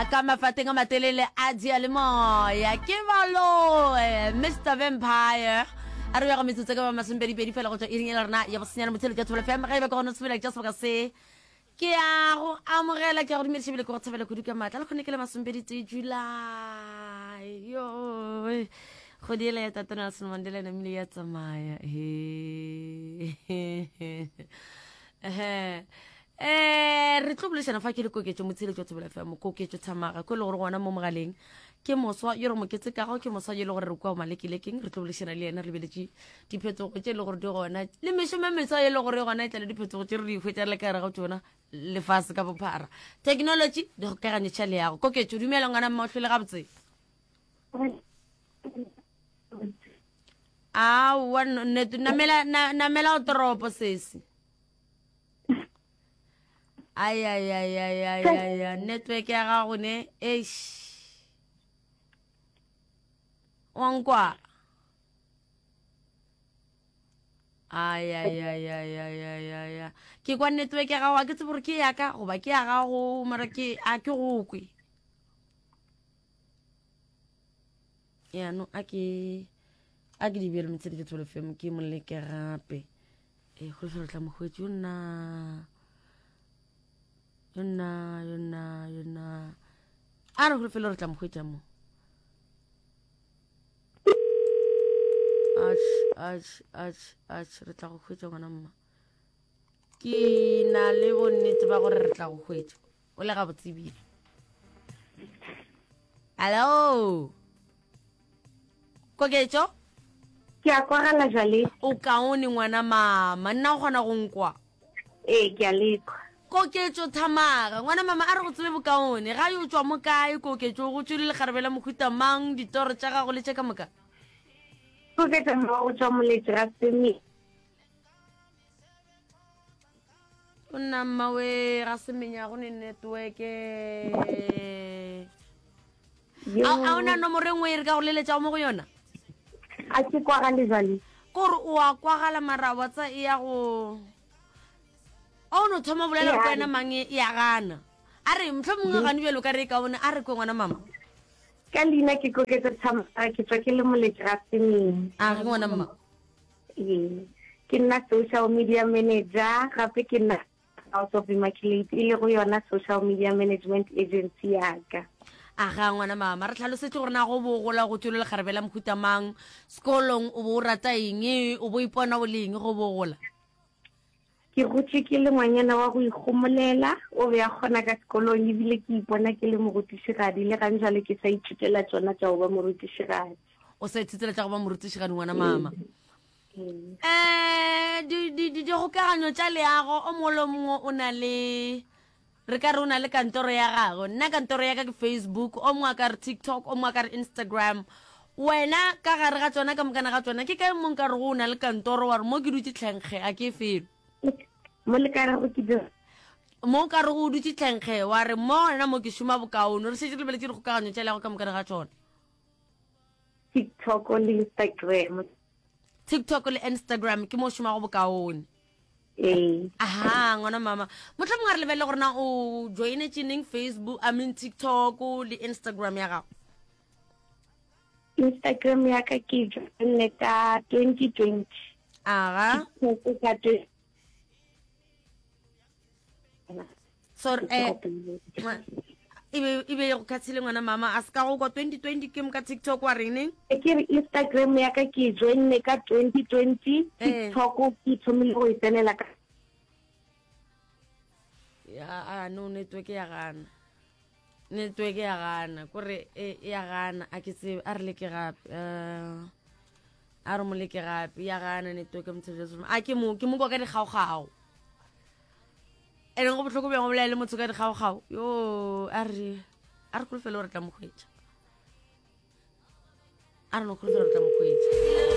Ka mafateng a matelele a diyalemoya ke baloe Mr Vampire a re bego metsotso ka ba masomepedipedi fela go tšwa iring e le rena ya bosenyane motshelo tša Thobela FM ge e ba ke gona sebela tša sebaka se ke ya go amogela ke ya go dumediša bile ke go thabela kudu ka maatla le kgone ke le masomepeditee July yo kgwedi ela ya Tate Nelson Mandela e namile ya tsamaya he um re tlo bolešana fa ke le koketšo motsheletšo wa Thobela FM koketšo Thamaga ko e le gore gona mo mogaleng ke moswa yo re mo ketsekago ke moswa yo e le gore re kwa malekelekeng re tlo bolešana le yena re lebeletše diphetogo tše e le gore di gona le mešomo e meswa e le gore gona e tla le diphetogo tše re di hwetša le ka gare ga tšona lefase ka bophara technology dikgokaganyo tša leago koketšo dumela ngwana mma o hlwele gabotse aowa namela namela o toropo sesi ayayayayaya network ya gago ne eish wa nkwa ayayayayayaya ke kwa network ya gago a ke tsebe gore ke yaka goba ke ya gago mara ke a ke go kwe yaanong a ke a ke di bjale motshedi ke tsholo fm ke moleke gape e kgolofelo re tla mo hwetše yo nna yo nna yo nna yo nna a re kgolofelo re tla mo hwetša mo ach ach ach ach re tla go hwetša ngwana mma ke na le bonnete ba gore re tla go hwetša o le gabotse ebile hallo koketšo ke a kwagala jale o kaone ngwana mama nna o kgona go nkwa ee ke a lekwa koketšo thamaga ngwana mama a re go tsebe bokaone ga yo tswa mo kae koketšo go tswele lekgarebe la mohuta mang ditoro tša gago le tše ka moka koketšo mma go tswa moletše ga seme O nna mmawe ga semenya go ne networke a o na nomoro e nngwe e re ka go leletšago mo go yona a ke kwagale jale kore o a kwagala mara wa tsa e ya go a o no thoma bolela go wena mang e ya gana a re motlho mongwe gane bjalo ka re e kaone a re kwe ngwana mama ka leina ke koketsa thamara ke tswa ke le moletši ga semeng a re ngwana mama Ee, ke nna social media manager gape ke nna House of Immaculate e lego yona social media management agency ya ka. A ga ngwana mama re tlhalosetse gore na go bo gola go tšwele lekgarebe la mohuta mang sekolong o bo o rata eng o bo ipona o le eng go bo gola? Ke gotše ke le ngwanyana wa go ikgomolela, o be a kgona ka sekolong ebile ke ipona ke le morutišigadi le gang jwale ke sa ithutela tšona tša go ba morutišigadi. O sa ithutela tša go ba morutišigadi ngwana mama. Um dikgokaganyo tša leago o mongwe le o mongwe o na le re ka re o na le kantoro ya gagwe nna kantoro ya ka ke facebook o mongwe a ka re tiktok o mongwe a ka re instagram wena ka gare ga tsona ka mokana ga tsona ke kae mo nka re go o na le kantoro wa re mo ke dutse tlhenkge a ke felo mo le ka rego ke dira mo o ka re go o dutse tlhenkge wa re mo wena mo ke šoma bokaone re šetše re lebeletše dikgokaganyo tša leago ka mokana ga tsona tiktok le instagram tiktok le instagram ke mo o šomago bokaone Ee. Aha, ngwana mama. Motlha mongwe a re lebelele gore na o joinetse neng Facebook, I mean TikTok le Instagram ya gago. Instagram ya ka ke joinne ka 2020. Aga. TikTok ka 20 Sorry, eh, e be e be go khathile ngwana mama a se ka go kwa 2020 ke mo ka TikTok wa reng neng? E ke re Instagram ya ka ke joinne ka 2020, Eh. TikTok ke thomile go e tsenela ka Ya a no network ya gana. Network ya gana kore e ya gana a ke tsebe a re leke gape. Eh a re mo leke gape ya gana network motho a ke mo ke mo kwa ka dikgaogao. Ene go bohloko bjang go bolela le motho ka dikgaogao yo a re a re kholofelo gore tla mo hwetša a re no kholofelo gore tla mo hwetša.